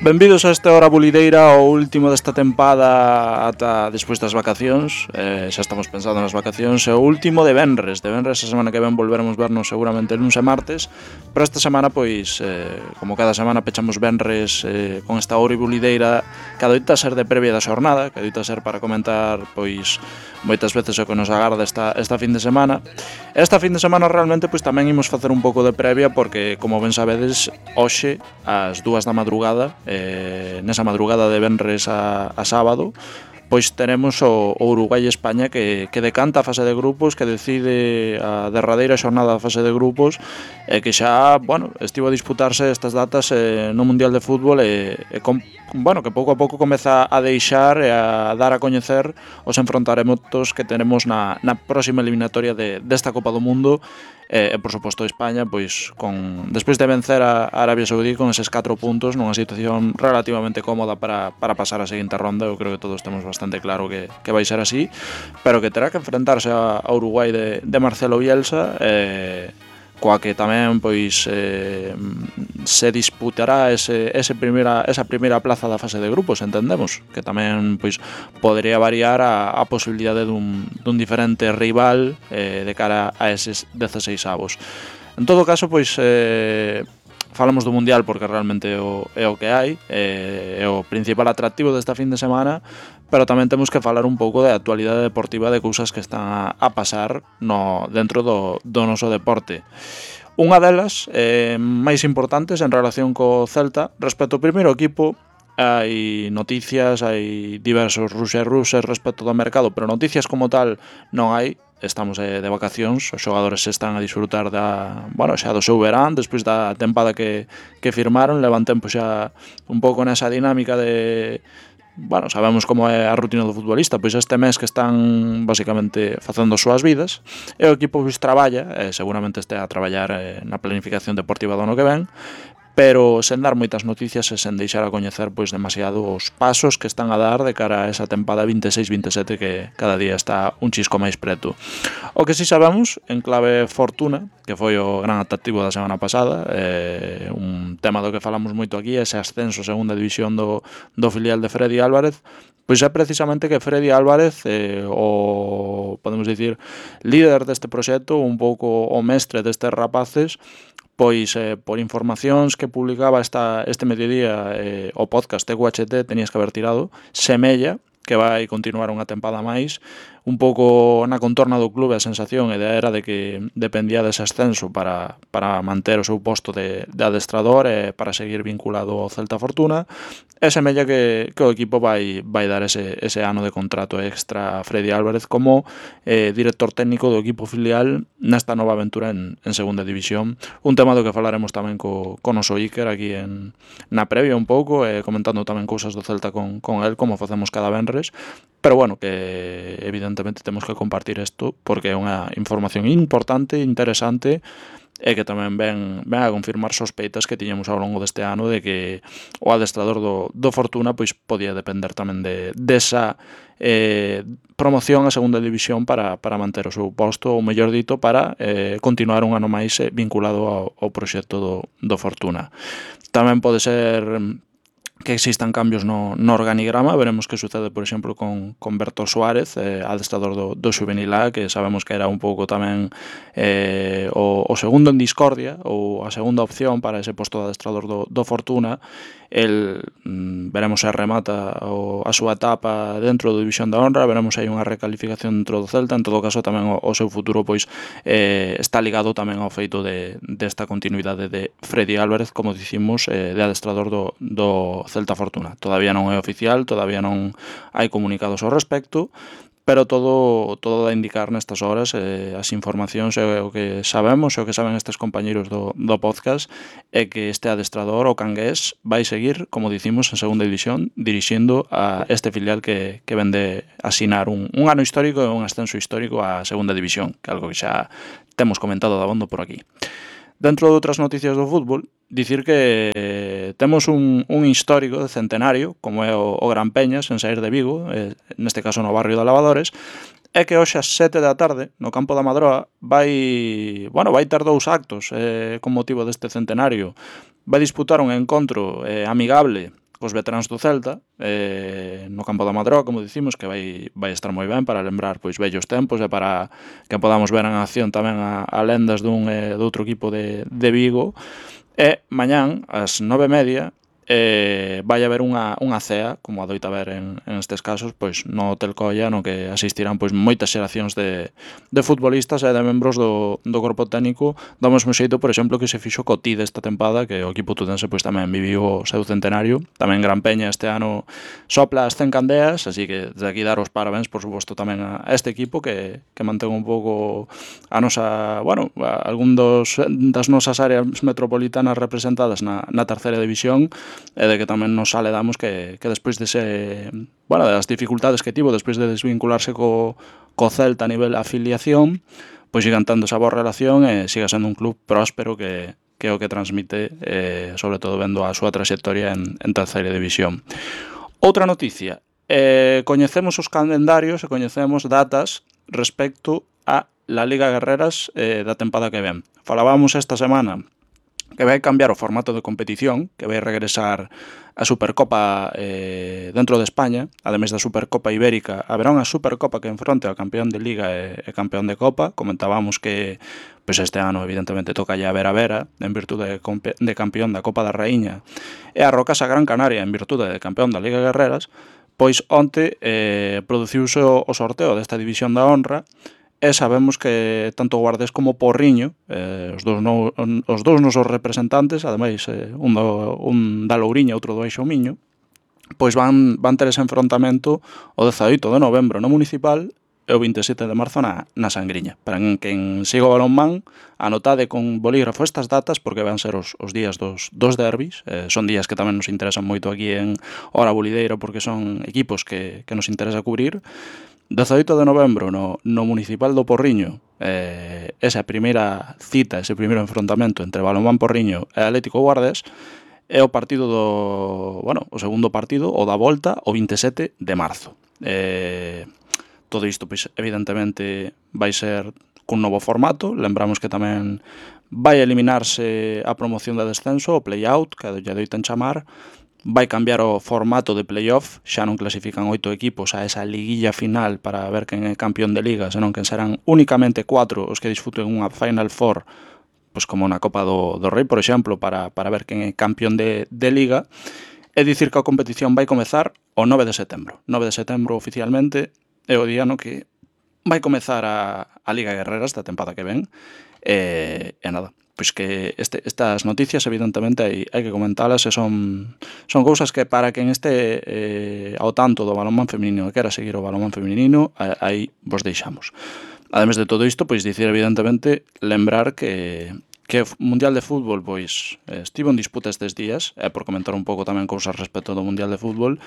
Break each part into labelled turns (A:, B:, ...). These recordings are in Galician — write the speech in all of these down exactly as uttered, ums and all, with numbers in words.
A: Benvidos a esta hora bulideira, o último desta tempada ata despois das vacacións. eh, Xa estamos pensando nas vacacións. E o último de venres De venres a semana que ven volveremos vernos seguramente luns e martes. Pero esta semana, pois, eh, como cada semana pechamos venres eh, con esta hora bulideira, que adoita ser de previa da xornada, que adoita ser para comentar, pois, moitas veces o que nos agarda esta, esta fin de semana. Esta fin de semana realmente pois tamén imos facer un pouco de previa, porque, como ben sabedes, hoxe, ás dúas da madrugada, eh, nesa madrugada de venres a, a sábado, pois teremos o, o Uruguai e España que, que decanta a fase de grupos, que decide a derradeira xornada da fase de grupos, e que xa, bueno, estivo a disputarse estas datas eh, no Mundial de Fútbol, e, e com, bueno, que pouco a pouco comeza a deixar e a dar a coñecer os enfrontaremotos que tenemos na, na próxima eliminatoria de, desta Copa do Mundo. E, e por suposto España, pois con despois de vencer a Arabia Saudí con eses catro puntos nunha situación relativamente cómoda para, para pasar a seguinte ronda. Eu creo que todos temos bastante claro que, que vai ser así, pero que terá que enfrentarse a, a Uruguai de, de Marcelo Bielsa, eh, coa que tamén pois eh, se disputará ese, ese primeira, esa primeira plaza da fase de grupos, entendemos, que tamén pois podería variar a, a posibilidade dun, dun diferente rival eh, de cara a eses dezaseis avos. En todo caso, pois eh, falamos do Mundial porque realmente é o, é o que hai, é, é o principal atractivo desta fin de semana, pero tamén temos que falar un pouco de actualidade deportiva, de cousas que están a, a pasar no, dentro do, do noso deporte. Unha delas, eh, máis importantes en relación co Celta, respecto ao primeiro equipo, hai noticias, hai diversos ruxes ruxes respecto do mercado, pero noticias como tal non hai. Estamos eh, de vacacións, os xogadores están a disfrutar da, bueno, xa do seu verán, despois da tempada que, que firmaron, levan tempo xa un pouco nesa dinámica de... Bueno, sabemos como é a rutina do futbolista, pois este mes que están basicamente facendo as súas vidas, e o equipo pois traballa, e seguramente este a traballar eh, na planificación deportiva do ano que ven, pero sen dar moitas noticias e sen deixar a coñecer pois demasiado os pasos que están a dar de cara a esa tempada vinte e seis vinte e sete que cada día está un chisco máis preto. O que si sabemos, en clave fortuna, que foi o gran atractivo da semana pasada, eh, un tema do que falamos moito aquí, ese ascenso a segunda división do, do filial de Freddy Álvarez, pois é precisamente que Freddy Álvarez, eh, o, podemos dicir, líder deste proxecto, un pouco o mestre destes rapaces, pois eh, por informacións que publicaba esta, este mediodía eh, o podcast de U H T, tenías que haber tirado, semella que vai continuar unha tempada máis. Un pouco na contorna do clube a sensación e era de que dependía dese ascenso para, para manter o seu posto de, de adestrador e para seguir vinculado ao Celta Fortuna, e semella que, que o equipo vai, vai dar ese, ese ano de contrato extra a Freddy Álvarez como eh, director técnico do equipo filial nesta nova aventura en, en segunda división. Un tema do que falaremos tamén co, co noso Iker aquí en, na previa un pouco, eh, comentando tamén cousas do Celta con, con el, como facemos cada venres, pero bueno, que evidentemente temos que compartir isto porque é unha información importante, interesante, e que tamén ven, ven a confirmar sospeitas que tiñamos ao longo deste ano de que o adestrador do, do Fortuna pois podía depender tamén de desa eh, promoción a segunda división para, para manter o seu posto, ou mellor dito, para eh, continuar un ano máis eh, vinculado ao, ao proxecto do, do Fortuna. Tamén pode ser que existan cambios no, no organigrama. Veremos que sucede, por exemplo, con, con Berto Suárez, eh, adestrador do, do Xuvenil A, que sabemos que era un pouco tamén eh, o, o segundo en discordia, ou a segunda opción para ese posto de adestrador do, do Fortuna. El, mm, veremos se remata o, a súa etapa dentro do División da Honra, veremos se hai unha recalificación dentro do Celta. En todo caso, tamén o, o seu futuro pois eh, está ligado tamén ao feito de desta continuidade de Freddy Álvarez, como dicimos, eh, de adestrador do, do Celta Fortuna. Todavía non é oficial, todavía non hai comunicados ao respecto, pero todo todo dá a indicar nestas horas, eh, as informacións e o que sabemos e o que saben estes compañeiros do, do podcast é que este adestrador, o cangués, vai seguir, como dicimos, en segunda división, dirixindo a este filial que, que vende asinar un, un ano histórico e un ascenso histórico a segunda división, que é algo que xa temos comentado de abondo por aquí. Dentro de outras noticias do fútbol, dicir que temos un, un histórico de centenario, como é o, o Gran Peñas, en saír de Vigo, eh, neste caso no barrio de Lavadores, é que hoxe ás sete da tarde, no campo da Madroa, vai, bueno, vai ter dous actos eh, con motivo deste centenario. Vai disputar un encontro eh, amigable cos veteráns do Celta, eh, no campo da Madroa, como dicimos, que vai, vai estar moi ben para lembrar pois vellos tempos e para que podamos ver en acción tamén a, a lendas dun e do outro equipo de, de Vigo. E mañán, ás nove e media, eh, vai haber unha, unha cea, como adoita haber en, en estes casos, pois no Hotel Colla, no que asistirán pois moitas xeracións de, de futbolistas e de membros do, do corpo técnico do mesmo xeito, por exemplo, que se fixo co T I D esta tempada, que o equipo tudense pois tamén viviu o seu centenario. Tamén Gran Peña este ano sopla as cen candeas, así que desde aquí dar os parabéns, por suposto, tamén a este equipo que, que mantén un pouco a nosa, bueno, a algún dos, das nosas áreas metropolitanas representadas na, na terceira división, e de que tamén nos aledamos que, que despois dese, bueno, das dificultades que tivo despois de desvincularse co, co Celta a nivel afiliación, pois sigan tendo esa boa relación e siga sendo un club próspero que, que é o que transmite, eh, sobre todo vendo a súa trayectoria en, en terceira división. Outra noticia, eh, coñecemos os calendarios e coñecemos datas respecto a la Liga Guerreras eh, da tempada que ven. Falábamos esta semana que vai cambiar o formato de competición, que vai regresar a Supercopa eh, dentro de España, ademais da Supercopa Ibérica, haberá unha Supercopa que enfronte ao campeón de Liga e, e campeón de Copa. Comentábamos que pois este ano evidentemente toca ya a Vera Vera en virtude de, de campeón da Copa da Raíña e a Rocasa Gran Canaria en virtude de campeón da Liga Guerreras. Pois onte eh, produciuse o, o sorteo desta división da honra. E sabemos que tanto Guardés como Porriño, eh, os, dous no, os dous nosos representantes, ademais eh, un, do, un da Louriña e outro do Eixo Miño, pois van, van ter ese enfrontamento o dezaoito de novembro no Municipal e o vinte e sete de marzo na, na Sangriña. Para quen siga o balonmán, anotade con bolígrafo estas datas porque van ser os, os días dos, dos derbis. Eh, son días que tamén nos interesan moito aquí en Hora Bulideiro porque son equipos que, que nos interesa cubrir. dezaoito de novembro no, no Municipal do Porriño, eh, esa primeira cita, ese primeiro enfrontamento entre Balonmán Porriño e Atlético Guardés, é o partido do, bueno, o segundo partido, o da volta, o vinte e sete de marzo. Eh, todo isto, pois, evidentemente, vai ser cun novo formato. Lembramos que tamén vai eliminarse a promoción de descenso, o play-out, que lle doitan chamar. Vai cambiar o formato de playoff, xa non clasifican oito equipos a esa liguilla final para ver quen é campeón de liga, senón que serán únicamente cuatro os que disfruten unha Final Four, pois como na Copa do, do Rei, por exemplo, para, para ver quen é campeón de, de liga. É dicir que a competición vai comezar o nove de setembro. nove de setembro oficialmente é o día no que vai comezar a, a Liga Guerreras da tempada que ven. E, e nada, pois que este, estas noticias evidentemente hai, hai que comentalas e son, son cousas que para quen este eh, ao tanto do balonmán feminino e quera seguir o balonmán feminino, aí vos deixamos. Ademais de todo isto, pois dicir evidentemente, lembrar que que o Mundial de Fútbol pois estivo en disputa estes días, e por comentar un pouco tamén cousas respecto do Mundial de Fútbol,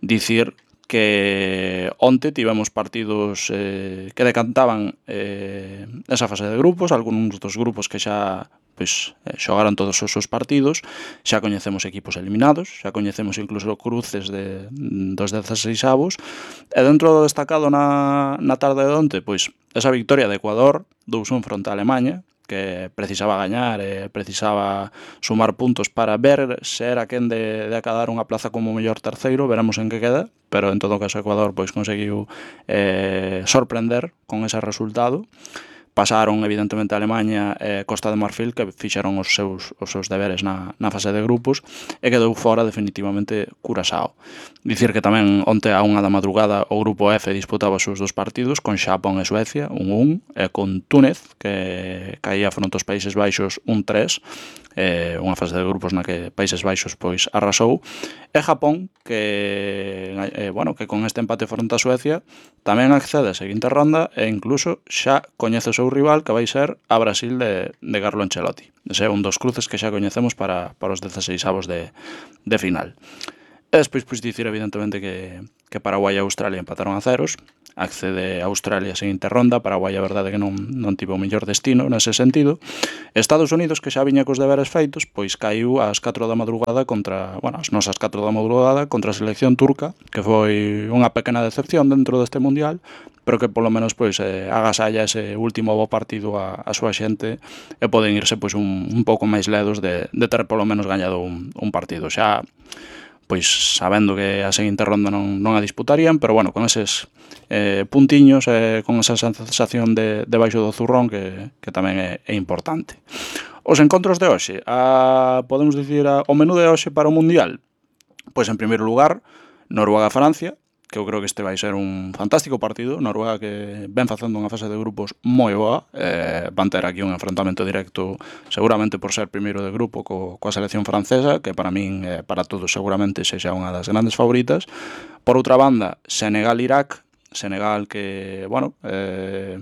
A: dicir que onte tivemos partidos eh, que decantaban eh, esa fase de grupos, algúns dos grupos que xa pois, eh, xogaron todos os seus partidos, xa coñecemos equipos eliminados, xa coñecemos incluso cruces de, dos dezaseisavos, e dentro do destacado na, na tarde de onte, pois esa victoria de Ecuador, dous un fronte a Alemanha, que precisaba gañar e precisaba sumar puntos para ver se era quen de, de acadar unha plaza como mellor terceiro. Veremos en que queda, pero en todo caso Ecuador pois conseguiu eh, sorprender con ese resultado. Pasaron evidentemente a Alemanha e Costa de Marfil, que fixeron os seus, os seus deberes na, na fase de grupos, e quedou fora definitivamente Curaçao. Dicir que tamén onte a unha da madrugada o grupo F disputaba os seus dos partidos con Xapón e Suecia, un un, e con Túnez, que caía fronte aos Países Baixos un tres, eh, unha fase de grupos na que Países Baixos pois arrasou, e Japón, que eh, bueno, que con este empate fronte a Suecia tamén accede a seguinte ronda e incluso xa coñece o seu rival, que vai ser a Brasil de, de Carlo Ancelotti. Ese é un dos cruces que xa coñecemos para, para os dezaseisavos de, de final. E despois, pois, dicir evidentemente que, que Paraguai e Australia empataron a ceros, accede a Australia a seguinte ronda. Paraguai a verdade que non, non tivo o mellor destino nese sentido. Estados Unidos, que xa viña cos deberes feitos, pois caiu ás catro da madrugada contra, bueno, as nosas catro da madrugada contra a selección turca, que foi unha pequena decepción dentro deste mundial, pero que polo menos pois eh, agasalla ese último bo partido a, a súa xente e poden irse pois un, un pouco máis ledos de, de ter polo menos gañado un, un partido. Xa pois sabendo que a seguinte ronda non, non a disputarían, pero bueno, con eses eh, puntiños, eh, con esa sensación de, de baixo do zurrón que, que tamén é, é importante. Os encontros de hoxe, a, podemos dicir a, o menú de hoxe para o Mundial. Pois en primeiro lugar, Noruega-Francia, que eu creo que este vai ser un fantástico partido. Noruega que ven facendo unha fase de grupos moi boa, eh, van ter aquí un enfrentamento directo seguramente por ser primeiro de grupo co, coa selección francesa, que para min, eh, para todos seguramente sexa unha das grandes favoritas. Por outra banda, Senegal-Irak, Senegal que, bueno, eh,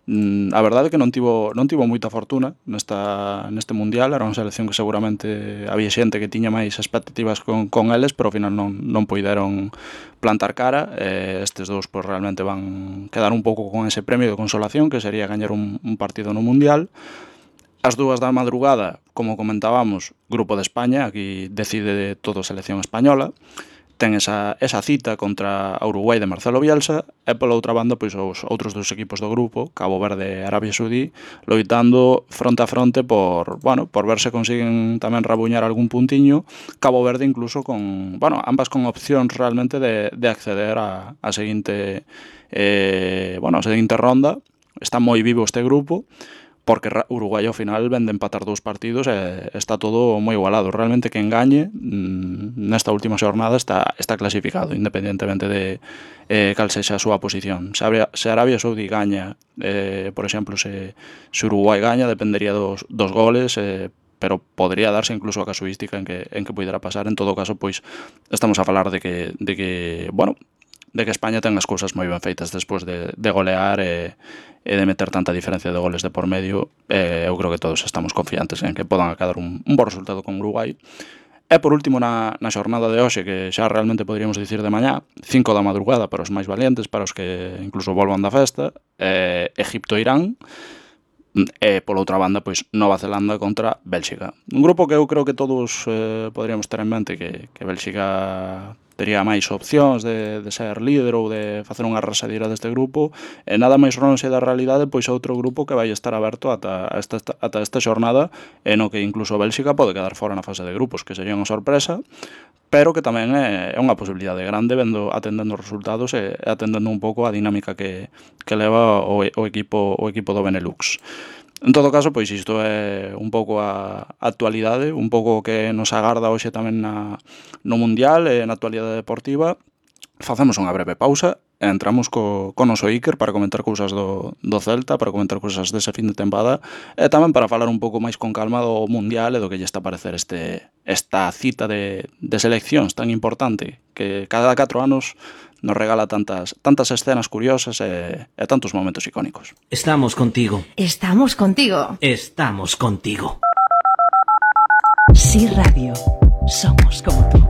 A: a verdade é que non tivo, non tivo moita fortuna nesta, neste Mundial. Era unha selección que seguramente había xente que tiña máis expectativas con, con eles, pero ao final non, non poideron plantar cara. Eh, estes dous pues, realmente van quedar un pouco con ese premio de consolación, que sería gañar un, un partido no Mundial. As dúas da madrugada, como comentábamos, Grupo de España, aquí decide todo a selección española. Ten esa, esa cita contra a Uruguai de Marcelo Bielsa, e pola outra banda pois os outros dos equipos do grupo, Cabo Verde e Arabia Saudí, loitando fronte a fronte por, bueno, por ver se consiguen tamén rabuñar algún puntiño. Cabo Verde incluso con, bueno, ambas con opcións realmente de, de acceder a, a seguinte eh, bueno, a seguinte ronda. Está moi vivo este grupo, porque Uruguai ao final ven de empatar dous partidos e está todo moi igualado. Realmente quen gañe nesta última xornada está, está clasificado, independentemente de eh, cal sexa a súa posición. Se, Arabia, se Arabia Saudí gaña, eh, por exemplo, se, se Uruguai gaña, dependería dos, dos goles, eh, pero podría darse incluso a casuística en que, en que pudera pasar. En todo caso, pois estamos a falar de que, de que bueno, de que España ten as cousas moi ben feitas despois de, de golear e, e de meter tanta diferencia de goles de por medio. Eh, eu creo que todos estamos confiantes en que podan acadar un, un bo resultado con Uruguai. E por último, na, na xornada de hoxe, que xa realmente poderíamos dicir de mañá, cinco da madrugada para os máis valientes, para os que incluso volvan da festa, eh, Egipto-Irán, e pola outra banda, pois Nova Zelanda contra Bélxica. Un grupo que eu creo que todos eh, poderíamos ter en mente que, que Bélxica tería máis opcións de, de ser líder ou de facer unha arrasadira deste grupo, e nada máis lonxe da realidade pois outro grupo que vai estar aberto ata esta, ata esta xornada, e no que incluso Bélxica pode quedar fora na fase de grupos, que sería unha sorpresa, pero que tamén é, é unha posibilidade grande vendo, atendendo os resultados e atendendo un pouco a dinámica que, que leva o, o, equipo, o equipo do Benelux. En todo caso, pois isto é un pouco a actualidade, un pouco que nos agarda hoxe tamén na, no Mundial e na actualidade deportiva. Facemos unha breve pausa e entramos co, co noso Iker para comentar cousas do, do Celta, para comentar cousas dese fin de tempada, e tamén para falar un pouco máis con calma do Mundial e do que lle está a parecer este, esta cita de, de seleccións tan importante que cada catro anos nos regala tantas, tantas escenas curiosas e, e tantos momentos icónicos.
B: Estamos contigo.
C: Estamos contigo.
B: Estamos contigo.
C: Sí Radio. Somos como tú.